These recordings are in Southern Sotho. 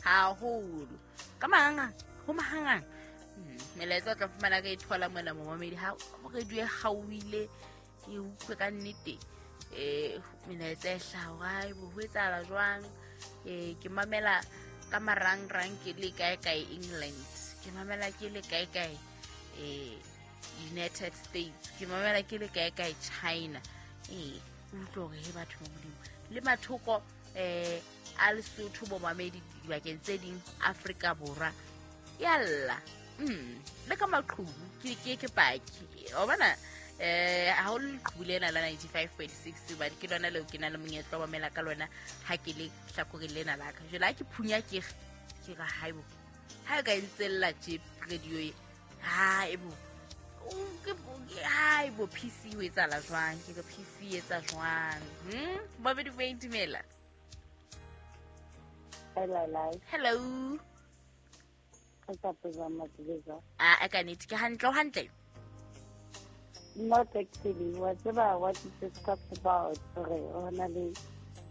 Haholo ka mahangang ho mahangang. Melaetsa o tla fumana ka e thola mona momamedi ha radio e kgaohile, ke utlwe ka nnete melaetsa e hlaha hore ai bo ho etsahala jwang. Ke mamela ka marangrang ke le kae kae England, ke mamela ke le kae kae United States, ke mamela ke le kae kae China. O utlwe hore he batho ba Modimo le mathoko a Lesotho bomamedi dibakeng tse ding Afrika Borwa yalla. Le ka maqhubu ke paki wa bona, haholo leqhubu lena la 95.6 hobane ke lona leo ke na le monyetla wa mamela ka lona ha ke le hlakoreng lena la ka. Jwale ha ke phunya ke re haibo, ha e ka e ntsella tje radio e, haebo haebo PC ho etsahala jwang, ke re PC e etsa jwang. Babedi bo dumela. Hello. Hello. A ka nnete ke hantle, o hantle? Not actually. Whatever what you just talked about, hore le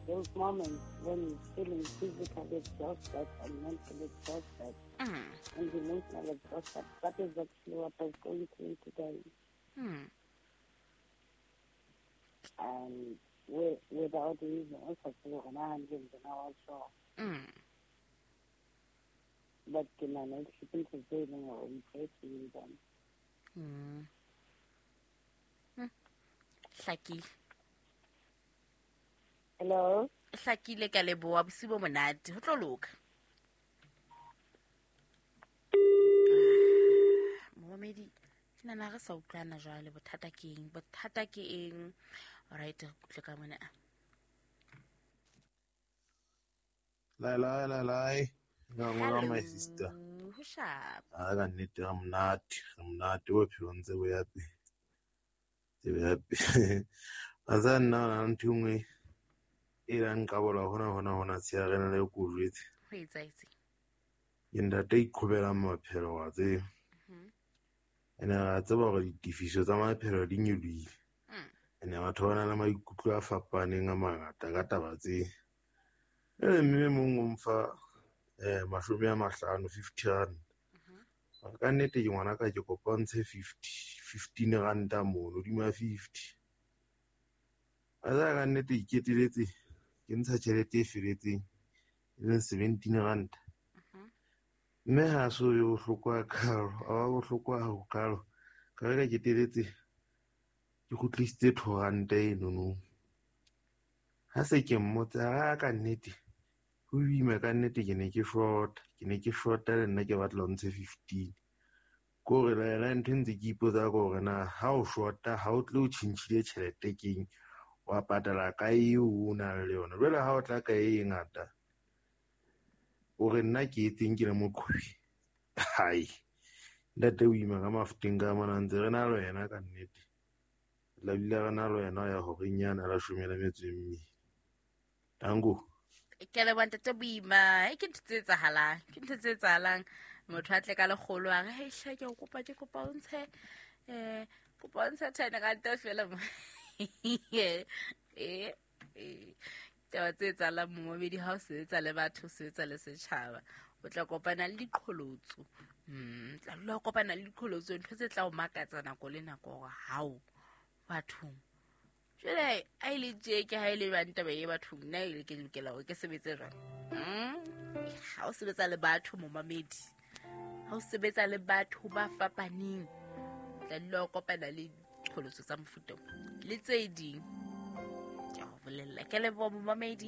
those moments when you're feeling physically exhausted and mentally exhausted and emotionally exhausted. That is actually what I was going through today. And without reason, also, I was sure. But ke nahana ke ntho tse e leng hore o itlwaetse them. Hlakile. Hello. Hlakile, ka leboha, bosiu bo monate, ho tlo loka. Momamedi, ke nahana re sa utlwana jwale, bothata ke eng? Bothata ke eng? Alright, re kutle ka mona. Lai lai lai lai. Nga my sister. Ho sharp. A ka nnete re monate, re monate bophelo ntse bo ya pele. Ntse bo ya pele. A tsa nna na ntho e nngwe e la nqabola hona hona hona tsheare le ko jwetse. Ho etsahetse. Ke ntate a iqhobelang maphelo wa tseba. Ene ra tseba hore ditefiso tsa maphelo di nyolohile. Ene batho ba na le maikutlo a fapaneng a mangata ka taba tse. Mme mong o mfa 50, 50 rand. Ka nnete ke ngwana ka ke kopa ntshe 15 ranta mono hodima 50. A tsa ka nnete ke keteletse ke ntsha tjhelete e feletseng e leng 17 ranta. Mme ha so yo bohloko hakalo, a ba bohloko hakalo. Ka re ka keteletse ke kgutlisitse 2 ranta enono. Ha se ke mmotsa ha ka nnete ho boima ka nnete ke ne ke short, ke ne ke short le nna ke batla ho ntshe 15. Ko re la yena ntho ntse ke ipotsa ka hore na ha o shorta ha o tle o tjhentjhile tjhelete keng, wa patala ka eo o nang le yona. Jwale ha o tla ka e ngata o re nna ke etseng ke le moqhobi. Hai, ntate o ima ka mafuteng ka mona ntse re na le wena ka nnete. La bile re na le wena ya horeng yana la 18. Tango. Ke leboha ntate Boima. Ke ntho tse etsahalang, ke ntho tse etsahalang. Motho a tle ka lekgolo a re, hei hle, ke o kopa, ke kopa o ntshe, kopa o ntshe 10 ranta feela mo. Taba tse etsahalang momamedi ha o sebetsa le batho, o sebetsa le setjhaba, o tla kopana le diqholotso. Tla dula o kopana le diqholotso, ntho tse tla o makatsa nako le nako hore hao bathong. Jwale ha e le tje ke ha e le jwang taba e bathong, nna e le ke lokela hore ke sebetse jwang? Ha o sebetsa le batho momamedi, ha o sebetsa le batho ba fapaneng, tla dula o kopana le diqholotso tsa mofuta o le tse ding. Ke a o bolella, ke leboha momamedi.